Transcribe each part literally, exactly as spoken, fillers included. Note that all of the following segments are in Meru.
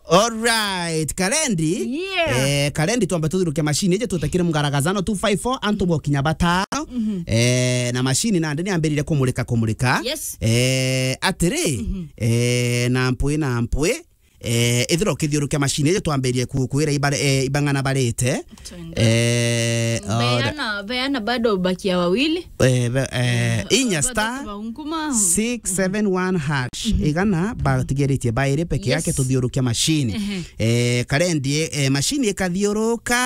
Alright, Karendi. Yeah. Eh, Karendi, twambe tuthiruke machine iji, tutekire mgaragazano two five four, antu bokinya batano. Mhm. Eh, na machine nandi ni ambirire kumurika, kumurika. Yes. Eh, atiri, mhm, eh, na mpwi, na mpwi, eh, ithira ukithiurukia machine iji, twambirie ku-, kwira ibare-, eh, ibang'ana barite. Twende. Eh, ora- Beana, beana bado bakia wawili. Eh, be-, eh, eh, inya batatu star baunguma. Six seven one hash. Mhm. Igana batigiritie bairi peke yake. Yes. Tuthiurukia machine. Ehe. Eh, Karendi, eh, machine ikathiuruka,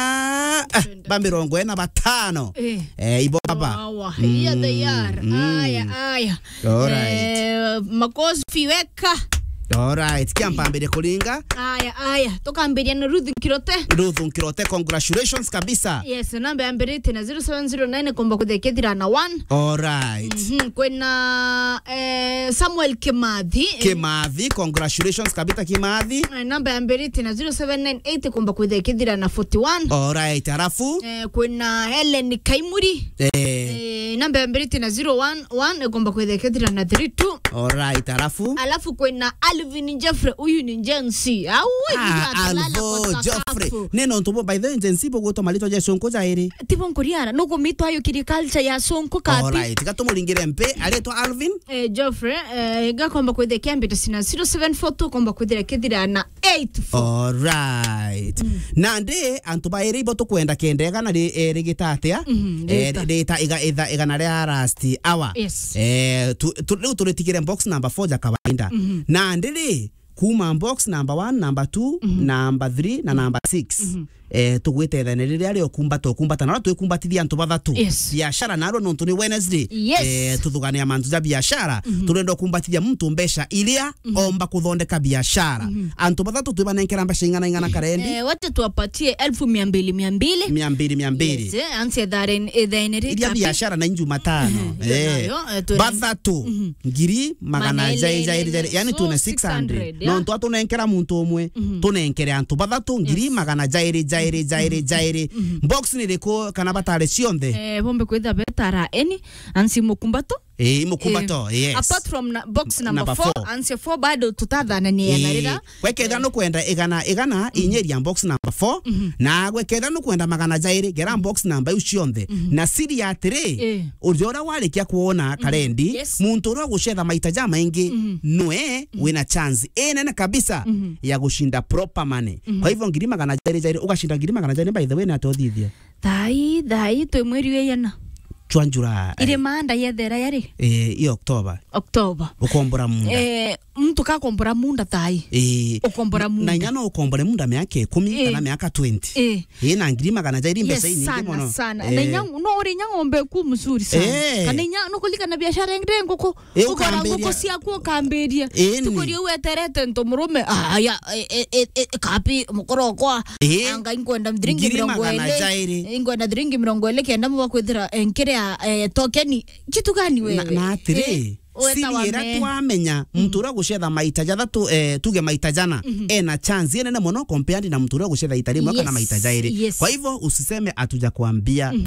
ah, twende, ba mirongo ina na batano. Eh. Eh, ibo baba. Wawa. Here they are. Mm. Aya, aya. Alright. Eh, makofi weka. Alright, kia mpambire kuringa. Aya, aya. Tukambiria na Ruth Nkirote. Ruth Nkirote, congratulations kabisa. Yes, namba yambirite na zero seven zero nine, komba kuthekethira na one. Alright. Mhm, kwina, eh, Samuel Kimathi. Kimathi, congratulations kabisa Kimathi. Eh, namba yambirite na zero seven nine eight, komba kuthekethira na forty one. Alright, alafu? Eh, kwina Helen Kaimuri. Eh. Eh, namba yambirite na zero one one, komba kuthekethira na thirty two. Alright, alafu? Alafu kwina Alvin Jeffrey, uyu ni Gen Z. Au, ah, uyu atalala Alvo kwa Jeffrey. Sakafu. Ni nontu bo, by the way, Gen Z bugwitwa maritwa ja icunku jairi. Tibo nkuriara, nukumitwa ayukirie culture ya icunku kapi. Alright, tiga tumuringire mpi, aritwa Alvin? Eh, Jeffrey, eh, gakomba kwithira kiambite sina zero seven four two, komba kwithira kithira na eight four. Alright. Mm. Nandi, antu bairi ibo tukwenda kenda igana ri-, eh, rigita atia? Mhm, eh, rita. Rita iga-, itha-, igana ria last hour. Yes. Eh, tu, tu, riu turitigire box number four ja kawaida. Mhm. Nandi ri, kuma box number one, number two, mhm, number three na, mhm, number six. Mhm. Eh, tugwite ithene riria rio kumbata, ukumbata, na twikumbatathia antu bathatu. Yes. Biashara narua nontu ni Wednesday. Yes. Eh, tuthugania mantu ja biashara, mhm, turenda ukumbatithia muntu mbeca iria, mhm, omba kuthondeka biashara. Mhm. Antu bathatu twibanenkera mbeca ing'ana ing'ana Karendi? Eh, wacha tuwapatie elfu mia mbili, mia mbili. Mia mbili, mia mbili. Yes, eh, ansi ethare-, ethene ri iria kapi. Biashara na Jumatano. Mhm, eh, nayo, eh, tuna- bathatu. Mhm. Ngiri magana jairi, jairi, jairi, yani so, tuna six hundred, six hundred, yeah. Nontu atunenkera muntu umwe, mhm, tunenkere antu bathatu, ngiri, yes, magana jairi, jairi, jairi, mhm, jairi. Mhm. Box ni iriku kana batari cionthe? Eh, bombe kwitha betara eni, ansi mukumbato. Eh, mukumbato, eh, yes. Apart from na, box number, number four, four, ansi four bado tutathanania na, eh, rira. Gwekethira, eh, nukwenda igana, igana, mhm, inyeria box number four, mhm, na gwekethira nukwenda magana jairi, gera box number iu cionthe. Mhm. Na siri ya atiri, eh, uria uria warikia kwona, mhm, Karendi, yes, muntu uria ugucetha maita jamaingi, mhm, nwe, mhm, wina chance inene kabisa, mhm, ya gucinda proper money. Mhm. Kwa hivyo ngiri magana jairi jairi, ugacinda ngiri magana jairi, by the way, na atothithia. Thai, thai, twi mweri wa iana. Chwa July. Iri maanda yethera yari? Eh, i October. October. Ukombora munda. Eh, mtu kakombora munda thai. Eh. Ukombora munda. Na inya no ukombore munda miaka ikumi, eh, kana miaka twenty. Eh. Eh, na ngiri magana jairi mbeca inyingi muno. Yes, sana, sana. Eh. Na inya, no uri inya ng'ombe ku mzuri sana. Eh. Kana inya, no kulika na biashara ingire nguku. Eh, ukora ukambiria. Nguku ciaku ukambiria. Eh, ni. Tukuria weterete ntu murume. Ah, ya, e, e, e, e, kapi, mukoro okwa. Eh. Anga inkwenda thiringi mirongo iri. Ngiri magana jairi. Inkwenda thiringi mirongo iri kenda mwa kwithira, eh, nkiria, eh, tokeni. Kitu gani wewe? Na, na atiri, eh, siri iria twamenya, mhm, muntu uria gucetha maita jathatu, eh, tuge maita jana, mhm, ena chance inene muno compared na muntu uria gucetha ita rimwe kana maita jairi. Yes, yes. Kwa hivyo, usiseme hatujakwambia. Mhm.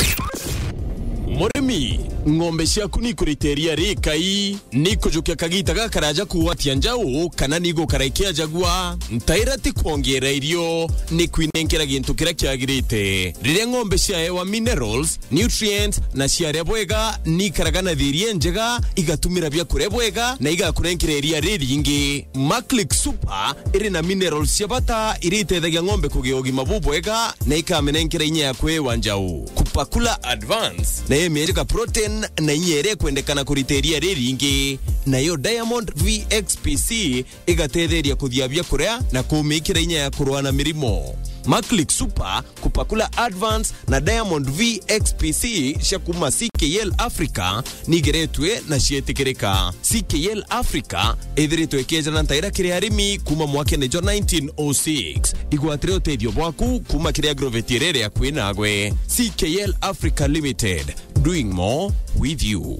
Murimi, ng'ombe ciaku ni ikurite iria rikai, ni ikujukia kagita gakaraja kuwatia njau, kana ni igukara ikiajagua? Ntaira ti kwongeera irio, ni kwinenkera gintu kiria kiagirite. Riria ng'ombe ciaewa minerals, nutrients, na ciaria bwega, ni ikaraga na thiiri injega, igatumira biakuria bwega, na igakurenkera iria riringi. Maclick Super iri na minerals cia bata iria itethagia ng'ombe kugia ugima bubwega na ikamenenkera inya ya kwiwa njau. Kupakula Advance nayo imienjeka protein na inya iria ikwendekana kurita iria riringi. Nayo Diamond V X P C igatetheria kuthia biakuria na kumikira inya ya kurua na mirimo. Maclick Super, Kupakula Advance na Diamond V X P C cia kuma C K L Africa nigeretwe na cietikirika. C K L Africa ithiritwe ikiejana ntaira kiri arimi kuma mwakene jwa nineteen oh six. Igwatire utethio bwaku kuma kiri agrovet iria iri akui nagwe. C K L Africa Limited, doing more with you.